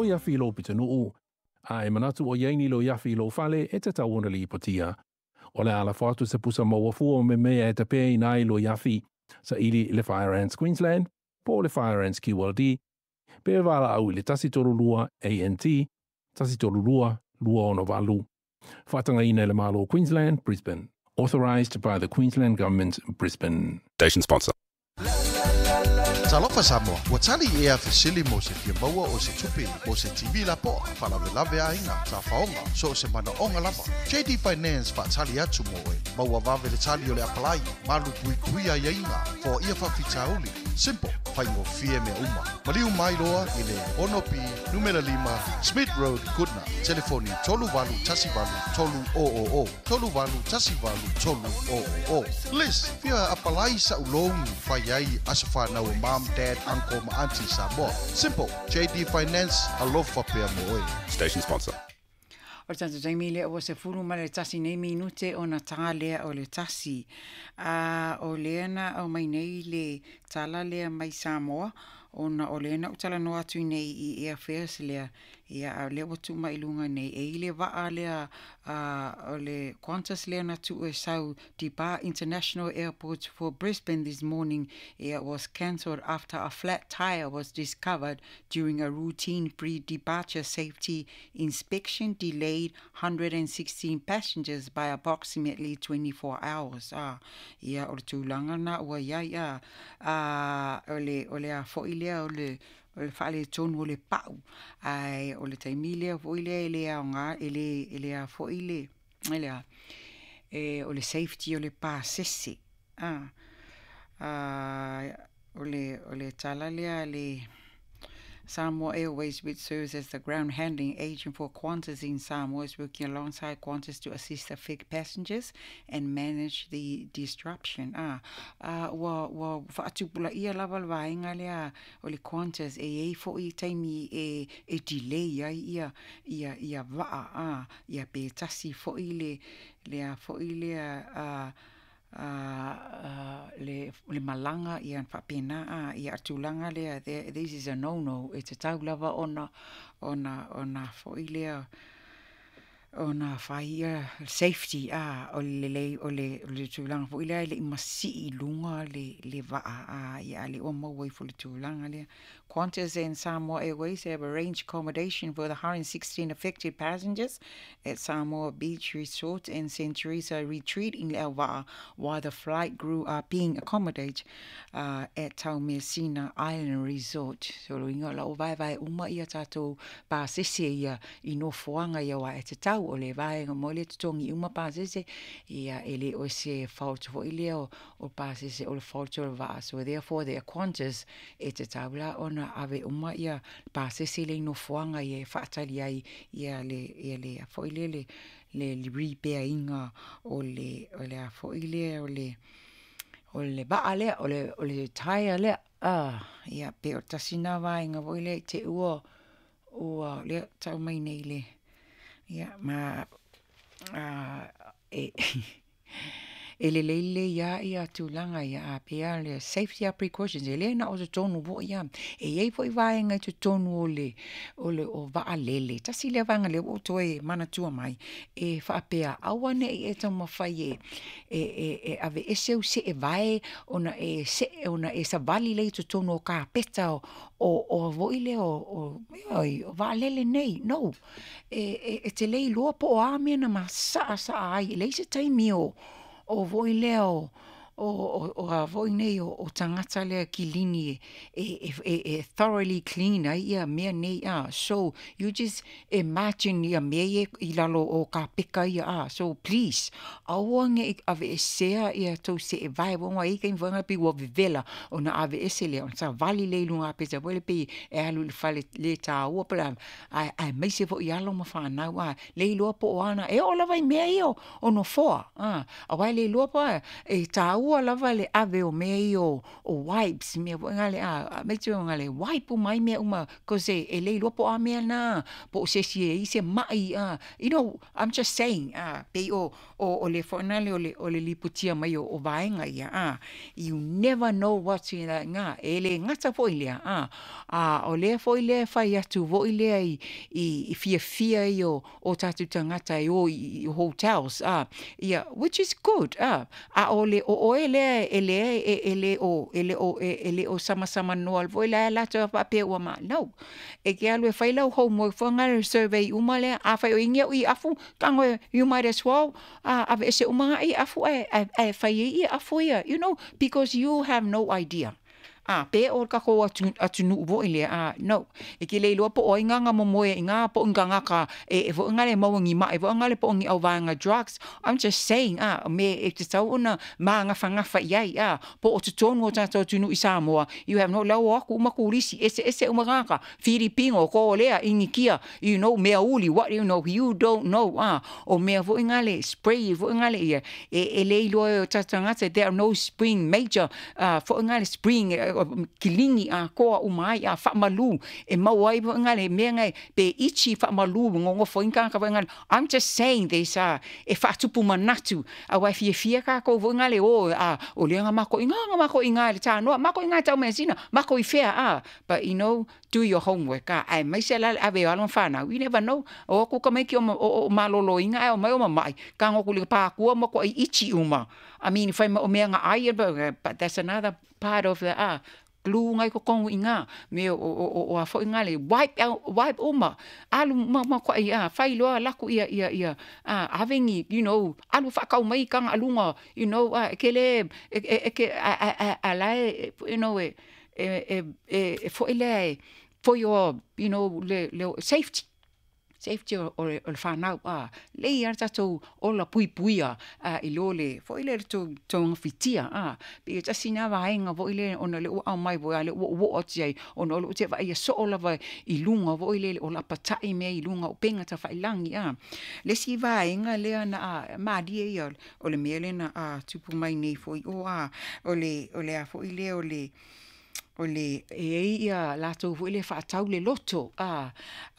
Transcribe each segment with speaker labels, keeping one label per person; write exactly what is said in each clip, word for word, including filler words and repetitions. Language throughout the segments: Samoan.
Speaker 1: loiafi i lou pitonuu, a e manatu o i ai ni loiafi i lou fale, e tatau ona lipotia. O le a lafo atu se pusa maua fua me mea e tapeina ai loiafi, saili i le Fire Ants Queensland po o le Fire Ants Q L D, pe valaau i le tasi tolu lua A N T, tasi tolu lua, lua ono valu. Faatagaina e le Malo o Queensland, Brisbane. Authorised by the Queensland Government, Brisbane.
Speaker 2: Station sponsor.
Speaker 3: Talofa Samoa, ua tali ea fesili mo se fia maua o se tupe, mo se T V lapoa, faalavelave aiga, tafaoga, so o se manaoga lava. J D Finance faatali atu mo oe, maua vave le tali o le apalai, malu puipui aiaiga, foaia faafitauli. Simple, faigofie mea uma. Maliu mai loa i le ono P, numera lima, Smith Road, Goodna. Telefoni tolu valu tasi valu tolu o o o. Tolu valu tasi valu tolu o o o. Liz, fia apalai sa ulouni fai ai aso whanau o mom, dad, uncle ma auntie Samoa. Simple, J D Finance, alofa pea mo oe.
Speaker 2: Station sponsor.
Speaker 4: O le tatou taimi lea ua sefulu ma le tasi nei minute ona tā lea o le tasi. A o lea na au mai nei le tala lea mai Samoa, ona o lea na u talanoa atu nei i airfares lea. Ia, a lea ua tuu mai i luga nei. E i le vaa lea, a, o le Qantas lea na tuu e sau Depart International Airport for Brisbane this morning. Ia, was cancelled after a flat tire was discovered during a routine pre-departure safety inspection, delayed one hundred and sixteen passengers by approximately twenty-four hours. Ah, ia, o le tulaga na ua iai, ah, ah, o le, o le a foi lea, o le, o le whaale tonu o le pau. Ai, o le taimi lea foi lea e le aoga, e le, e le a foi le, e le a, e, o le safety o le pasese. Ah, ah, o le, o le tala lea le Samoa Airways, which serves as the ground handling agent for Qantas in Samoa, is working alongside Qantas to assist affected passengers and manage the disruption. Ah, ah, ua, ua whaatupula ia lava le vaenga lea o le Qantas e ei fo i taimi e, e delay ai ia, ia, ia waa, ah, ia pe tasi fo i le, le a fo i lea, ah, ah, le, le malanga ia whapena, ah, ia atulanga lea, there, this is a no-no. E te tau lava ona, ona, ona fo i lea, ona whai ia safety, ah, o le le, o le, o le tūlanga fo i lea, le imasi i lunga le, le waa, ah, ia le o maua i fo le tūlanga lea. Qantas and Samoa Airways have arranged accommodation for the one hundred sixteen affected passengers at Samoa Beach Resort and Saint Teresa Retreat in Leauva'a, while the flight crew are being accommodated, uh, at Taumeasina Island Resort. So lo inga la o vai vai uma ia tātou pasese ia i nofoanga ia wa e te tau o le vaenga mo le tutongi uma pasese ia e le o se fault fo i lea o, o pasese o le fault o le vaa. So therefore the Qantas e te tau la ona ave uma ia pasese le nofoanga ia e whaatali ai ia le, ia le a fo i le, le, le, le repair-inga o le, o le a fo i le, o le, o le vaa lea, o le, o le taia lea. Ah, ia pe o tasina vaenga fo i le te ua, ua lea tau mai nei le. Ia, ma, ah, e, e le leile ia ia tūlanga ia a pea le safety precautions e le na o te tonu po ia e iei foi vaenga i te tonu o le, o le o vaalele tasi le vaenga le o toe manatua mai e whaapea aua nei e taumawhai e, e, e, e ave ese u se e vae ona e se ona e savali le i te tonu o ka peta o, o, o voi le o, o, o, o vaalele nei no e, e, e te lei loa po o a mea na ma saa saa ai e lei se taimi o o voi lea o, o, o, o a voi nei o, o tangata lea kilini e, e, e, e thoroughly clean ai ia mea nei a. So you just imagine ia mea e i lalo o ka peka ia a. So please, aua nge i ave e sea ia tau se e vai wonga i kai wanga pi ua vevela o na ave ese lea. Ona sa vali le lunga peta wele pi e alu le fale le tā ua pala ai, ai meise fo i alo ma whanau a. Le iloa po o ana e o lava i mea i o, o no foa a. A wai le iloa po a, e tā taua lava le ave o mea ia o, o wipes, mea foi ngale a, me te ngale wipe uma ai mea uma, cause e, e le iloa po o a mea na, po o se isi e i ai se mai a. You know, I'm just saying, a, pei o, o, o le foi nale o le, o le lipotia mai o, o vaega ia, a. You never know what's in that ngā, e le gata foi lea, a. A o lea foi lea e fai atu foi lea i, i, i fiafia ia o, o tatou tagata e o i, i hotels, a, ia, which is good, a. A o le o oe lea e lea e, e le o, e le o, e, e le o samasama noa foi la latou faapea ua ma, no. E ke alu e fai lau homework foi ngā survey uma lea, a fai o ingi au i afu, tago e, you might as well, a, ave ese uma ngā i afu e, e, e fai e i afu ia, you know, because you have no idea. A, pe o ka ko atu, atunuu foi lea, a, no. E ke le iloa po o ai ngā momoe i ngā po o ngā e, e foi ngā le maua ngi ma, e foi ngā le po o ngi au vaega drugs. I'm just saying, a, me e te tau ona maagafaagafa i ai, a, po o totonu o tatou atunuu i Samoa, you have no lau o aku uma kurisi, ese ese uma ngaka, Filipino, Korea, Inikia, you know, mea uli, what you know, you don't know, a, o mea foi ngā le spray, foi ngā le ia, e, e le iloa e o tatou tagata, there are no spring major, uh, foi ngā le spring, uh, kilingi a koa uma ai a faamalu e maua ai foi ngā le mea ngai pe ichi faamalu ngongofo inga ka foi ngā. I'm just saying this, uh, e faatupu manatu a wai fiafia kākou foi ngā le o a o le nga mako inga nga mako inga le tānoa mako inga tau mesina mako i fea a, but you know, do your homework a ai mai se la ave alo whanau, you never know o ku ka mai ki o, o, o malolo inga ai o mai o mamai ka ngoku le pākua mo ko i ichi uma. I mean, whai ma o mea ngā ai, but that's another part of the, ah, glue ngai ko kongu i ngā, me o, o, o, o a foi ngā le, wipe out, wipe uma, alu ma, ma ko i, ah, whai loa laku ia, ia, ia, ah, avengi, you know, alu whakau mai kanga alunga, you know, ah, ke le, e, e, e, ke, a, a, a, a lae, you know, e, e, e, e, e foi le, for your, you know, le, le, safety. Safety o, o, o le whanau, a, le ia tatou ola puipuia, a, i lo le, foi le tō, tō ngawhitia, a, pe e tasi nā vaenga foi le, ona le ua au mai voi, a le ua ua ati ai, ona o le ute vai ia soo lava i lunga foi le, o la patai mea i lunga o penga ta whailangi, a. Le si vaenga lea na, a, mārie ia, o le mea le na, a, tupu mai nei foi, o, a, o le, o le a foi le, o le, o le e ei ia latou foi le faatau le loto, a,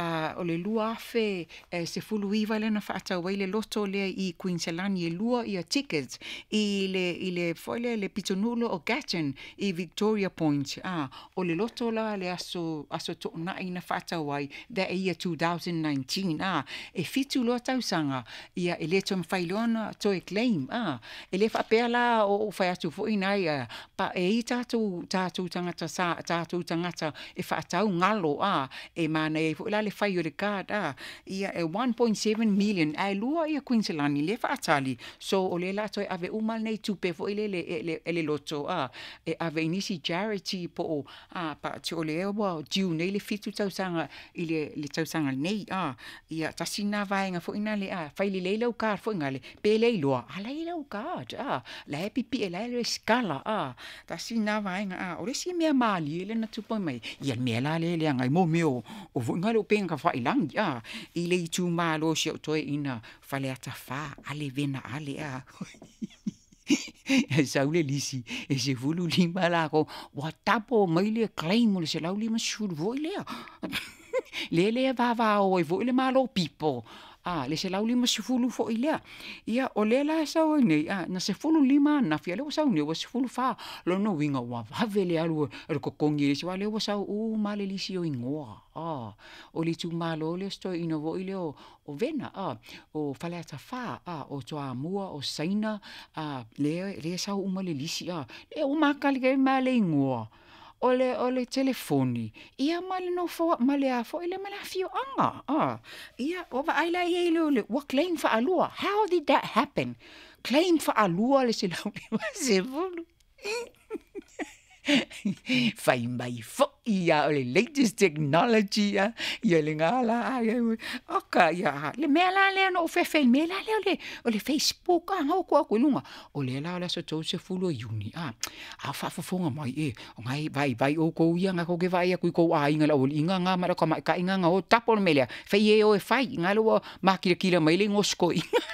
Speaker 4: a, o le lua afe e, se fulu iva le na faatau ai le loto lea i Queensland e lua ia tickets i le, i le foi le, le pitonulo o Gatton i Victoria Point, a, o le loto la le aso, aso toonai na faatau ai that year twenty nineteen, a, e fitu loa tausaga ia e le toe mawhai loa na toe claim, a, e le faapea la o, o whai atu foi nai, a, pa e i tātou, tātou tangata sa tātou tangata e whaatau ngalo, a, e mana e foi la le whai o le card, a, ia e one point seven million, a e lua ia Queensland le whaatali, so o le la toe ave uma nei tupe foi le, le, le, le, le loto, a, e ave inisi charity po o, a, pa te o le ewa diu nei le fitu tausaga i le, le tausaga nei, a, ia tasi nā vaenga foi nā le, a, whai le leila o card foi ngā le, pe le iloa, a la ila o card, a, la e pipi e la e le skala, a, tasi nā vaenga, a, o le si mea malie le na tupa mai, ia mea la le le ngai mo mea o, o foi ngā le o penga whai langi, a, i le itu malo si o toe ina whale ata wha, ale vena ale, a. E sau le lisi, e se fulu lima la ko, wa tapo mai le claim o le se lau lima sulu foi lea. Le le vava o e foi le malo pipo. A, le se lau lima sefulu foi lea. Ia, o le la sau ai nei, a, na sefulu lima na fia le o sau nei, o sefulu wha, lono winga wa vave le alu e le kokongi le siwa le o sau u male lisi o ingoa. A, o le tu malo le sto ina voi le o, o vena, a, o whaleata wha, a, o toa mua, o saina, a, le, le sau uma le lisi, a, le o makali ke male ingoa. O le, o le telefoni, ia ma le nofo, ma le a foi le ma le afio anga, ah. Ia, o va ai la ia i le, le, ua claim whaalua. How did that happen? Claim whaalua le se lau le ma se fulu. Whai mai foi ia o le latest technology, ia, ia le ngā la, ia, oka, ia, le mea la lea no fefe, le mea la lea o le, o le Facebook, a, ngau kua koe lunga, o le la o le aso tau se fulu o iuni, a, a whaafafonga mai, e, o ngai, vai, vai o kou ia, ngā koke vai a kui kou a inga la o inga ngā mara ka mai ka inga ngā o tapo le mea lea, whai e o e whai, ngā lua makila kila mai le ngosko inga.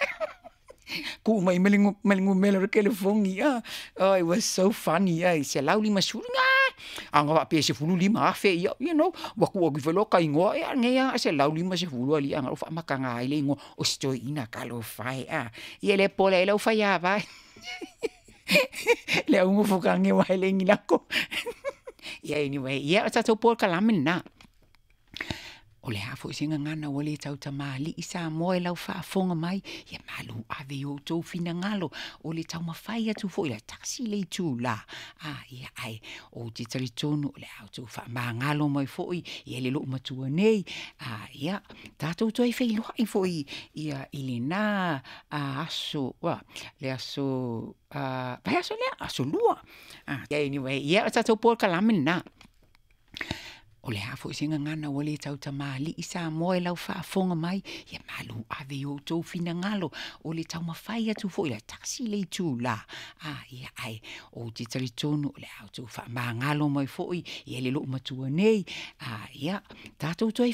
Speaker 4: Ku'u mai ma le ma le numera o le telefoni a. Oh, it was so funny ai, selau limasefulu, a na faapea e sefululima afe, ia, you know, ua tuu atu ifo loa ta igoa, ia lenei lava selau limasefulu alii a na ou faamataga ai le igoa o si toeaina, talofa e a. Ia le pola ai lau faiava le au nofo tane aua e leai ni lako. Ia anyway, ia o le tatou polokalame lena. O le a foi se gagana ua le tautamalii Samoa i lau faafofoga mai, ia malu ave i o outou finagalo o le taumafai atu foi le tasi le itulā. A ia ae ou te talitonu o le a outou faamagalo mai foi ia le loomatua nei. A ia tatou toe feiloai foi ia i lena aso, le aso vaiaso lea, aso lua. Anyway, ia o le tatou polokalame lena. O le a foi se gagana ua le tautamalii Samoa i lau faafofoga mai, ia malu ave i o outou finagalo o le taumafai atu foi le tasi le itulā. A ia ae ou te talitonu o le a outou faamagalo mai foi ia le loomatua nei. A ia tatou toe